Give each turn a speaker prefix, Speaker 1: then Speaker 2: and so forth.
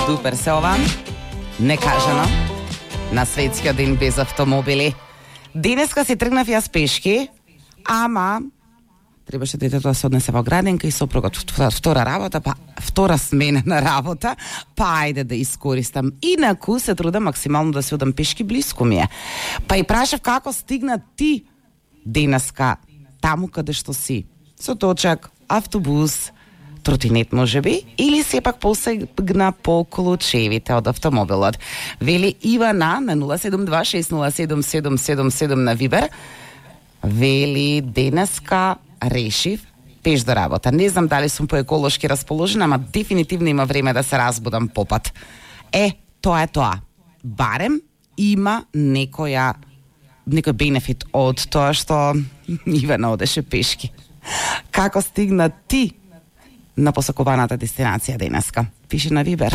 Speaker 1: дупер се ова. Некажано. На светскиот ден без автомобили. Денеска си тргнав јас пешки, ама требаше детето да се однесе во градинка и сопругот втора работа, па втора смена на работа, па ајде да искористам. Инаку се трудам максимално да се одам пешки, блиску ми е. Па и прашав како стигна ти денеска таму каде што си. Со точак, автобус, тротинет можеби, или сепак посегна поколу чевите од автомобилот. Вели Ивана на 072-607-777 на Вибер. Вели денеска решив пеш до работа. Не знам дали сум поеколошки расположена, ама дефинитивно има време да се разбудам попат. Тоа е тоа. Барем има некој бенефит од тоа што Ивана одеше пешки. Како стигна ти на посакуваната дестинација денеска? Пиши на Вибер.